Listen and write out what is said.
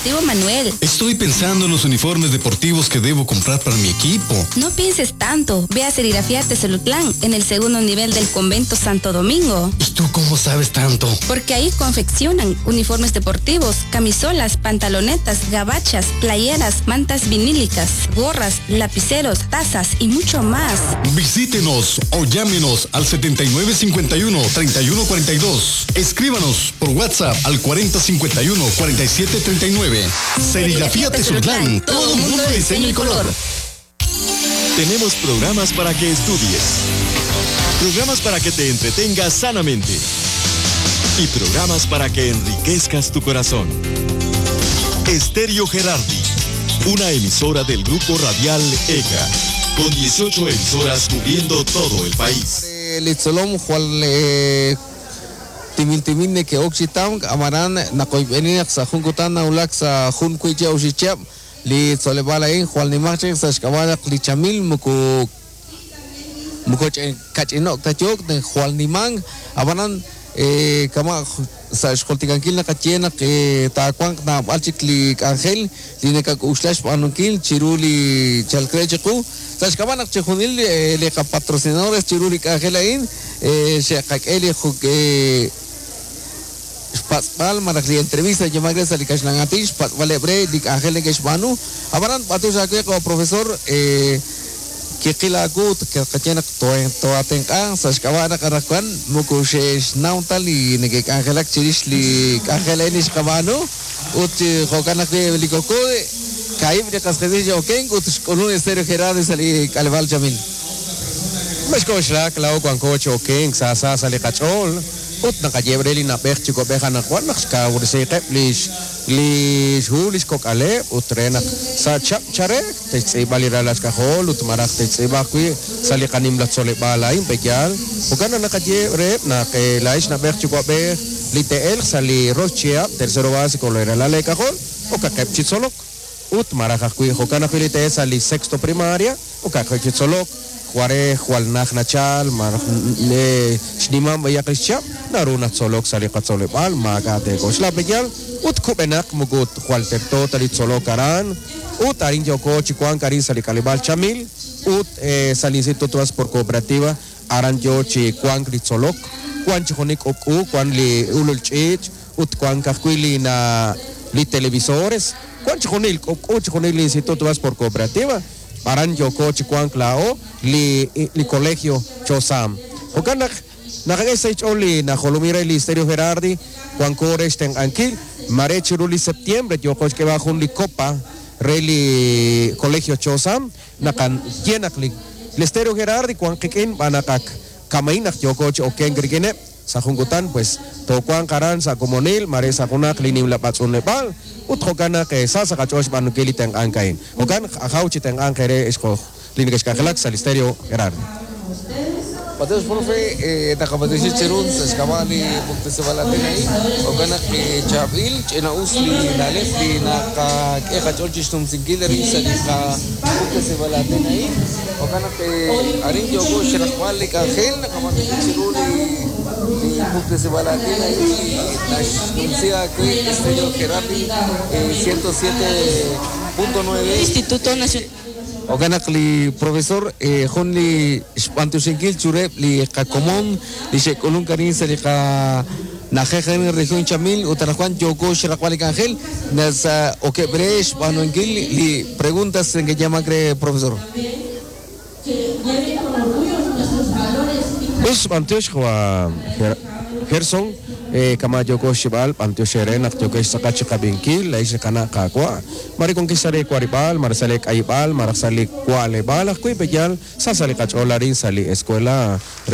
Deportivo Manuel. Estoy pensando en los uniformes deportivos que debo comprar para mi equipo. No pienses tanto. Ve a Serigrafía Tezulutlán, en el segundo nivel del Convento Santo Domingo. ¿Y tú cómo sabes tanto? Porque ahí confeccionan uniformes deportivos, camisolas, pantalonetas, gabachas, playeras, mantas vinílicas, gorras, lapiceros, tazas y mucho más. Visítenos o llámenos al 7951-3142. Escríbanos por WhatsApp al 4051-4739. Serigrafía Tezulutlán, todo mundo de diseño y color. Tenemos programas para que estudies, programas para que te entretengas sanamente y programas para que enriquezcas tu corazón. Estéreo Gerardi, una emisora del grupo radial ECA, con 18 emisoras cubriendo todo el país. Litzolom, Juan Timil que Oxitown, Amarán, Nakoibeni, Sajunkutan, Naulax, Junkuicha, Uxichap, Litzolebalain, Juan Limache, Sashkabala, Lichamil, Muku Mukoch, Kachinok, Tachok, Juan Limang, Abanan, kama sa xkoltikankil nakatye nak takuank na balchik li angel li nekakuxlax b'anunkil chiru li chalkre chiqu sa xk'ab'a naq chijunil li qapatrocinadores chiru li k'anjel a'in xe'qak'e li xpatz'b'al malaj li entrevista yamagre sa li kaxlan'atin xpatz'b'al ebre li k'anjel neke'xb'aanu ab'anan b'atux awe qo profesor kiqilakut qatye naq toatenq'a sa xk'ab'a naq anaqwan muku xe'xnaw ta li neke'k'anjelak chirix li k'anjel a'in li xqab'aanu ut jo'kan naq li kokode kaib' li qasqesil x'okenk ut xk'ulun Estéreo Gerardi sa li k'aleb'aal Chamil. Mexk'oxlak laa'o wanko chi okenk sa sa sa li qach'ool ut naqayeeb' re li na'b'ej chi kob'ej anaqwan naq xkawresiiqeb' lix li xhu li xkok'aleb' ut re naq sa chab' charek te'xtz'iib'a li ralal xk'ajol ut maraj te'xtz'iib'a ajwi' sa li qanimla tzoleb'aal a'in pe'yaal jo'kan naq naqayeeb' reheb' naq laa'ex na'b'ej chi kob'ej li te'elq sa li rox chihab' tercero básico li ralal eek'ajol okaqeb' chi tzolok ut maraj ajwi' jo'kan ajwi' li te'elq sa li sexto primaria okaqeb' chi tzolok Juarez, Jualnaj Nachal, maraj xnimam b'ayaq li xchab' naru natzolok sa li qatzoleb'aal maak'a' te'k'oxla pe'yaal ut kub'enaq moko jwal terto ta li tzolok aran ut arin yoko chi wank arin sa li k'aleb'aal Chamil ut sa li Instituto por Cooperativa aran yo chi wank li tzolok wan chi junik k'ub'k'u wan li ulul ch'iich' ut wank ajwi' li na li televisores wan chi junil k'ub'k'u chi junil li Instituto por Cooperativa aran yoko chi wank laa'o li li colegio Chosam jo'kan naq naqak'e sa xch'ool li najolomil re li Estéreo Gerardi wanko re xtenq'ankil mare chiru li septiembre yoko xk'eb'al jun li copa re li colegio Chosam naqaye naq li Estéreo Gerardi wan qik'in b'anaqak kamain naq yoko chi okenk rik'ineb' sa junkutan pues towanq aran sa komonil mare sa junaq li nimla b'atz'unleb'aal ut jo'kan naq sa sa qach'ool xb'aanunkil li tenq'ank a'in jo'kan ajaw chi tenq'anq re xqoj li neke'xk'anjelak sa li Estéreo Gerardi. Mateus, profe, naqab'atixi chirun sa xk'ab'a' li puktesib'al a'in jo'kan naq chaab'il ch'ina'us li na'leb' li naqak'e qach'ool chixnumsinkil rin sa li qapuktesib'al a'in jo'kan naq arin yoko xraqb'al li k'anjel naqab'atixi chiru li puktesib'al a'in naxnumsi awe Estéreo Gerardi 107.9 Instituto Nacional Jo'kan naq li profesor jun li xb'antuxinkil chureb' li qakomon li xe'k'ulunk arin sa li qana'ajej arin región Chamil ut anaqwan yoko xraqb'al li k'anjel nasa okeb' re xb'aanunkil li preguntas neke'yamak re profesor. Us b'antiox jwa Gerson kama yoko xib'al b'antiox re naq yoko xtz'aqat chi qab'inkil la'ix qana' qaawa' mare kon kisare kwarib'al mare sale k'ayib'al mare sale kwa'leb'al ajwi' pe'yaal sa sa li qach'ool arin sa li escuela re